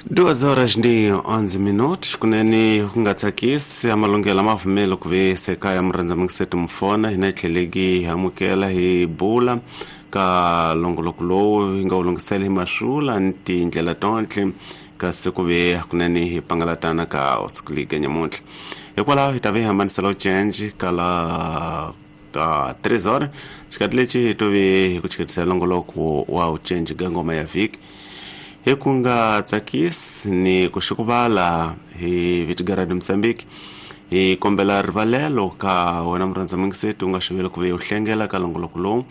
2 horas ndi 11 minutos kunene ku nga tsakisi amalungelo ma pfumeli ku ve se kaya murhandza mingiseti mufona hina hi tlheleki hi amukela hi bula ka longoloko lowu hi nga wu lunghisela hi maswula ni tindlela tontlhe kasi ku ve kunene hi pangalatana ka siku leyi nyamuntlha. Hikwalaho hi ta ve hi hambanisela change ka la ka 3 horas xikati lexi hi to ve hi ku chiketisela longoloko wa u change ka ngoma ya vhiki hi ku nga tsakisi ni ku xukuvala hi vitigaradi Mozambique. Hi kombela rivalelo ka wena murhandza mingiseti u nga xiveli ku ve u hlengela ka longoloko lowu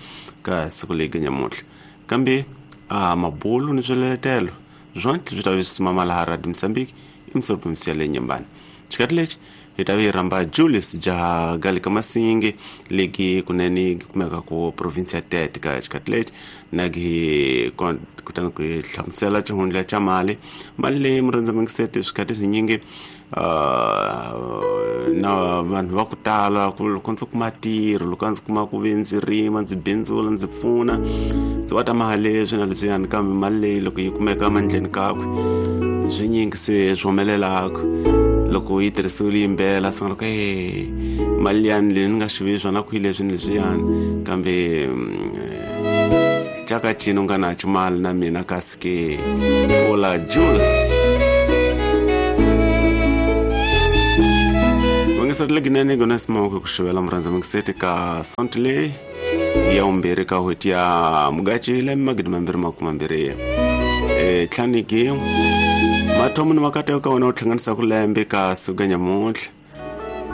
ka siku leyi nyamuntlha, kambe a mabulu ni swiletelo swonke swi ta ve swi simama laha Radio Mozambique emisopomisi ya le Nyembani. Xikati lexi hi ta ve hi rhamba Julius Jaha ka Masingi leki kunene kumeka ku province ya Tete ka xikati lexi na ki kutani ku hi hlamusela xihundla xa mali mali leyi murhandza mingiseti swikati swinyingi na vanhu va ku tala ku loko ndzi kuma ntirho, loko ndzi kuma ku ve ndzi rima, ndzi bindzula, ndzi pfuna, ndzi va ta mali leswi na leswiyani, kambe mali leyi loko yi kumeka mandleni kakwe swinyingi se swi humelelaka loko yi tirhisiwile yimbela swi nga loko e mali liyani leyi ni nga xivi swona kwihi leswi ni leswiyani, kambe caka cini u nga na mali na mina kasi ke ola Jules vangisati leginene gona simoko ku xivela murhandza mingiseti ka sonto leyi ya vumbirhi ka n'hweti ya Mugaci lembe 2020 tlhaniki mathomo ni makateko ka wena u hlanganisaka lembe ka siku ka nyamuntlha.